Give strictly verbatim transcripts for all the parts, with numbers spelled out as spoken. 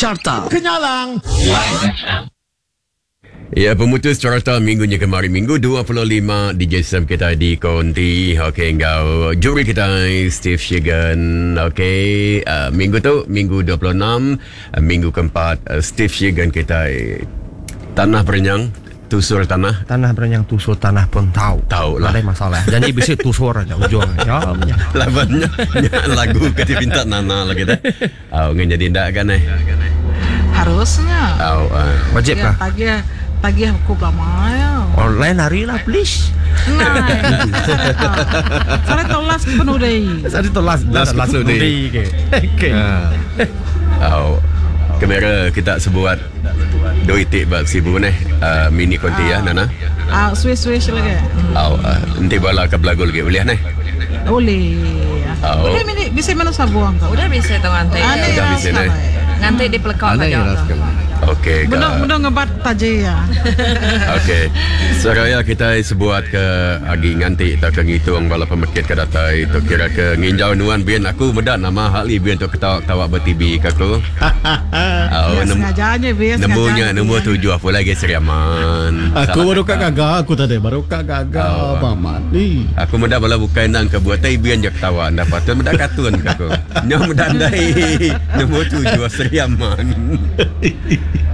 Carta Kenyalang. Ya, pemutus carta minggunya kemarin minggu dua puluh lima D J Sam kita di Konti. Okey, engkau juri kita Steve Shegan. Okey, uh, minggu tu minggu dua puluh enam, uh, minggu keempat uh, Steve Shegan kita tanah berenyang, tusur tanah. Tanah berenyang tusur tanah pun tahu. Tahu lah. Ada masalah. Jadi bisa tusur aja ujung. Ya. Labannya lagu ke minta Nana lagi dah. Oh, ngan jadi ndak kan eh. Harusnya. Oh, uh. Wajib kah? Pagi pagi aku lama ya. Online hari lah please. Nah. Saya tolas penuh deh. Saya tolas las penuh deh. Okey. Oh. Kamera kita sebuat dua itik bab sibu ni uh, mini konti ya Nana. Ah, swish swish lagi. Oh, uh, nanti bala ke belagu lagi boleh ni? Boleh. Oh. Boleh mini bisa mana sabuang kau? Udah bisa tu ngantai. Udah bisa ni. Ngantai di pelekak aja. Okey. Benda benda ngebat taji ya. Okey. Seraya kita sebuat ke agi nganti tak ke ngitung bala pemekit ke datai tu kira ke nginjau nuan bian aku medak nama hakli bian tu ketawa-ketawa ber-T V ke aku. Oh, ya, sengajanya bian nemunya nombor tujuh apa lagi Seriaman. Aku baru kak gagah aku tadi baru kak gagah oh, paman ni. Aku medak bala bukan nang ke buat tai bian je ketawa ndak patut medak kartun ke aku. Nyo medak ndai nombor tujuh Seriaman.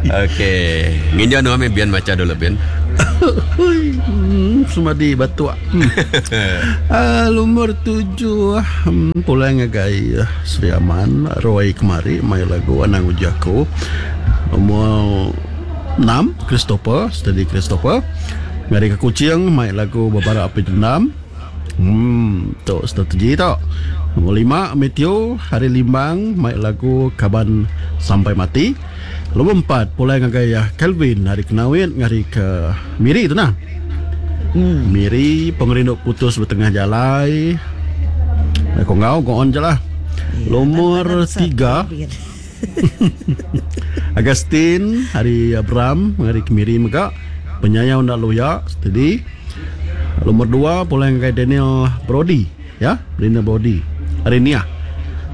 Okey, nginjau nuan bian baca dulu bian. Hmm, semadi batuk. Hmm. uh, lumur tujuh hmm, pulang ngagai uh, Sri Aman Roy kemari mai lagu Anang Uji Aku. Nombor enam Christopher, steady Christopher. Ngari ke Kuching mai lagu Babara Api Dendam. Hmm, tu strategi tu. Nombor lima Matthew Hari Limbang mai lagu Kaban Sampai Mati. Nombor empat pulai ngagai Kelvin hari Kenawit ngari ke Miri tu nah. Hmm. Miri pengerindu putus bertengah jalai. Kau ngau go on je lah. Ya, nomor tiga Agustin hari Abram ngari ke Miri mega penyayang ndak loya steady. Nomor dua pulai ngagai Daniel Brody ya, Daniel Brody hari Nia.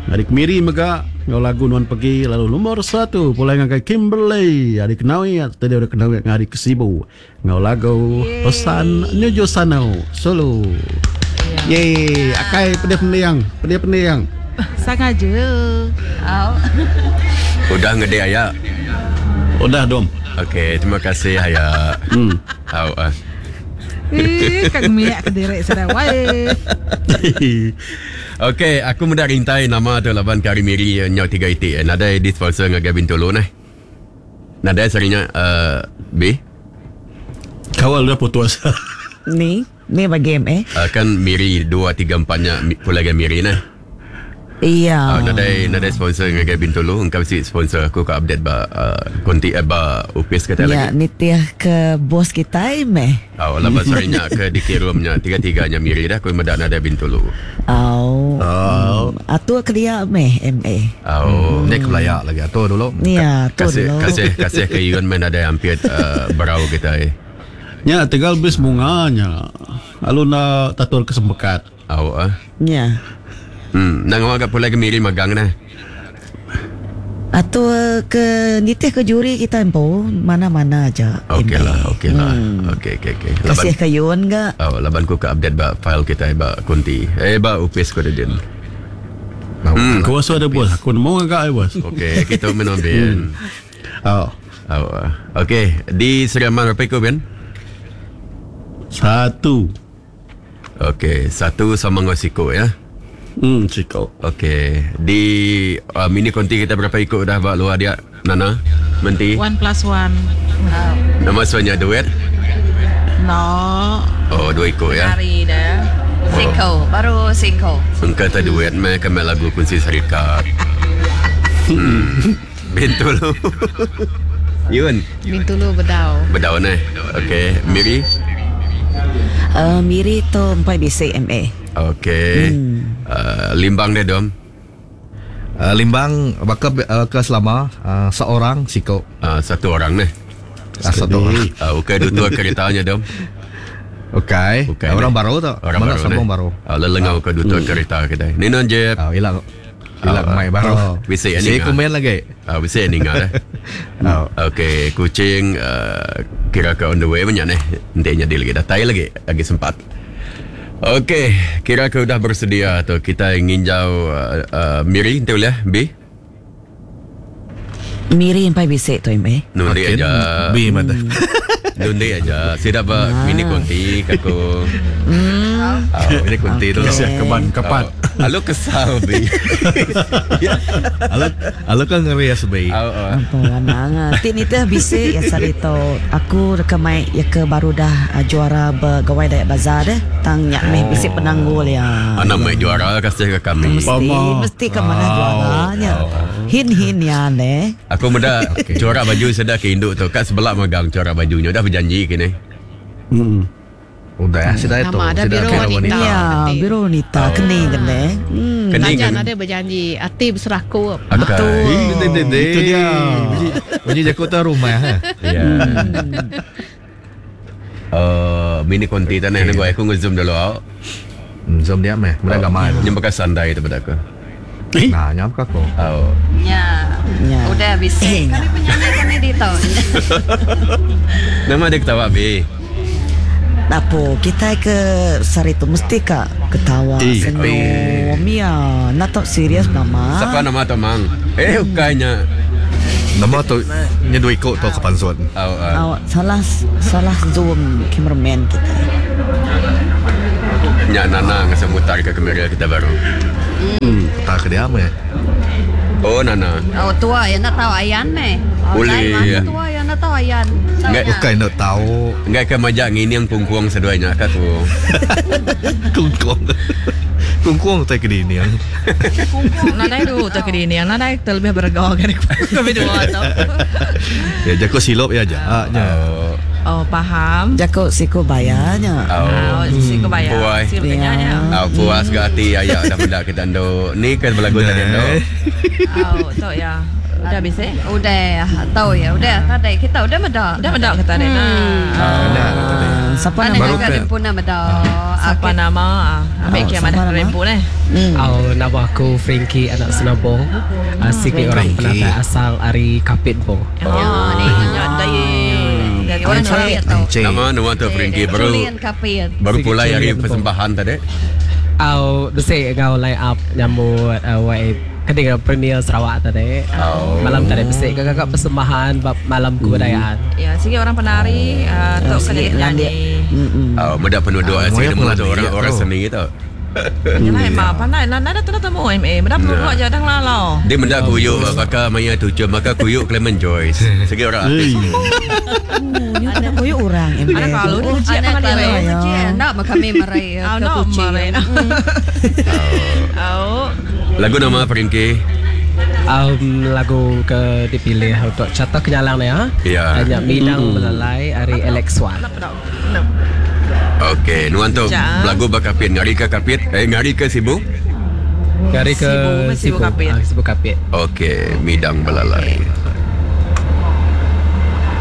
Ngari ke Miri mega ngau lagu Nuan Pergi. Lalu nomor satu pulai ngagai Kimberley hari Kenawi tadi udah Kenawi ngari ke Sibu ngau lagu Pesan Nuju Sanau Solo. Yeay, akai pedih pendiang, pedih pendiang. Sengaja. Oh. Udah ngede ayak. Udah dom. Okey, terima kasih ayak. Hmm. Au ah. Eh, kang miak ke direk sada wae. Okey, aku mudah rintai nama tu laban kari miri nyau tiga itik. Nadai di sponsor dengan Gavin Tolo nah. Nadai serinya uh, B. Kawal dah putus. Ni, ni bagi M eh. Uh, kan miri dua tiga empatnya pula dengan miri nah. Iya. Uh, nadai nadai sponsor dengan Gavin Tolo, engkau si sponsor aku ke update ba uh, konti eh, ba upis kata ya, lagi. Ya, nitiah ke bos kita meh. Oh, laban serinya ke dikirumnya tiga-tiganya miri dah aku medak nadai Bintulu. Oh. Oh. Atur ke dia meh M A. Oh, hmm. Dia kelayak lagi atur dulu. Ya, atur kasih, dulu. Kasih kasih ke Yun men ada hampir uh, berau kita eh. Ya, tinggal bis bunganya. Lalu nak tatur kesempekat. Oh, ah. Ya. Hmm, nang awak pula ke miri magang nah. Atur ke nitih ke juri kita empo mana-mana aja. Okey lah, okey lah. Hmm. Okey okey okey. Kasih ke Yun ga? Oh, laban ku ke update ba file kita ba kunti. Eh ba upis ko din. Hmm, aku rasa ada bos. Aku nemu agak eh bos. Okey, kita menang Ben. Oh. Oh. Okey, di Seriaman berapa ikut Ben? Satu. Okey, satu sama dengan siko ya. Hmm, siko. Okey, di uh, mini konti kita berapa ikut dah buat luar dia, Nana? Menti? One plus one. Oh. Nama suanya duet? No. Oh, dua ikut ya. Hari dah. Siko, oh. Baru siko. Engkau tak duet meh kami lagu kunci syarikat. Hmm. Bintulu. Yun. Bintulu bedau. Bedau ni. Okey, Miri. Uh, Miri tu empat B C M A. Okey. Hmm. Uh, Limbang dia dom. Uh, Limbang bakal uh, ke selama uh, seorang siko. Uh, satu orang ni. Uh, satu orang. Uh, okey dua keretanya dom. Okey. Okay, orang ni. Baru tu. Orang mana baru sambung ni. Baru. Uh, lelengau ke dua hmm. kereta kita. Ni non Jeb. Ah, uh, hilang. Hilang mai baru. Bisa Saya ni. komen lagi. Ah, bisa ninga dah. Oh. Okey, kucing uh, kira ke on the way banyak ni. Nanti jadi lagi datai lagi, lagi sempat. Okey, kira ke udah bersedia tu kita nginjau uh, uh, Miri nanti boleh B. Miri empai bisik tu eh. Nundi Makin aja. B mata. Nundi aja. Saya dapat mini konti kaku. Oh, ini kunti tu. Kasih keban kepat. Oh, Lalu kesal B. Alu alu kan ngeri ya sebi. Oh, oh. Apa anang. Ti ni teh bisik ya sarito. Aku rekamai ya ke baru dah uh, juara bergawai Dayak Bazar deh. Tang nyak meh bisik penanggul ya. Anak mai juara kasih ke kami. Mesti Mama. mesti ke mana juaranya. Hin hin ya ne. Aku muda corak baju sedah ke induk tu kat sebelah magang corak bajunya dah berjanji kini. Hmm. Udah, sudah itu. Nama ada Sudah biru kira wanita. wanita. Ya, biru wanita kening kene. Hmm. Kening Tajan kan? ada berjanji hati berseraku. Betul. Itu dia. Bunyi jago tu rumah. Ha. Ya. Uh, mini konti tanah okay. Aku nge-zoom dulu. Awak. Hmm, zoom dia meh. Mudah gamai. Yang bekas sandai tu pada aku. Nah, nyam ke aku. Oh. Ya. Ya. Udah bisa. Eh, Kami penyanyi kami di tahu. Nama dia ketawa B. Apa kita ke sarito mesti ka ketawa Eh, senyum ya. Nak tak serius nama. Siapa nama tu mang? Eh, bukannya. Nama tu nyedu ikut tu ke pansuan. Oh, uh, Awak salah salah zoom cameraman kita. Nyak Nana ngasa mutar ke kamera kita baru. Tak ke dia meh. Oh, Nana. Oh tua ya nak tahu ayan meh. Oh, Boleh, lain ya. mana tua ya nak tahu ayan. Tahu Enggak, nya. Bukan nak tahu Enggak ke majak ngini yang pungkuang seduanya kat tu. kungkung. Kungkung tak ke dini yang. Nadai tu tak ke dini. Nadai terlebih bergaul kan kami dua tu. Ya jago silop ya aja. Ah, nya. Oh. Oh faham. Jakok siko bayarnya. Oh. Oh, si kau bayar. Puai. Si bertanya. Ya. Oh, puas ke hati ayak dah benda kita ando. Ni kan berlagu tadi ando. Oh, tu ya. Udah bisa? Udah tahu ya, udah tadi kita udah medak. Udah mendak kata dia. Ah, dah tadi. Ah, siapa Ada nama? Baru juga ke- rimpu nama dah. Siapa nama? Ah, Ambil Oh, kiamat siapa dah nama? rempu ni. Hmm. Oh, nama aku Frankie anak Senabong. Uh, sikit orang Frankie. penata asal ari Kapit bo. Oh, ni ada ye. Orang kapit tu. Encik. Nama nama tu Frankie baru Julian kapit. baru pulai hari Julian Bo. persembahan tadi. Au besi ngau line up nyambut uh, Y ketiga Premier Sarawak tadi. Oh. Malam tadi besi kakak persembahan bab malam kebudayaan. Ya, sikit orang penari, uh, tok Sikit kena landik. nyanyi. Mm-mm. Oh, muda penduduk Ah, ah, moya sini tu pengelandik orang ya, orang tu. seni itu. Yalah emang pandai. Nah, nah, tu dah temu M A. Benda perlu aja dah lalau. Dia mendak kuyuk maka maya tujuh maka kuyuk Clement Joyce. Segi orang artis. Oh, ni kena koyok orang. M A. Ada kalau dia kecil Anak apa dia? kalau Ya. kecil nak kami merai Oh, ke no, kucing. mare. Oh. Lagu nama Frankie. Um, lagu ke dipilih untuk carta kenyalang ni ha. Ya. Hanya Minang Belalai ari Alex Wan. Okey, nuan tu Sekejap. lagu bakapit ngari ke kapit eh ngari ke Sibu. Ngari ke Sibu, Sibu Kapit. Ah, Sibu Kapit. Okey, Midang Belalai.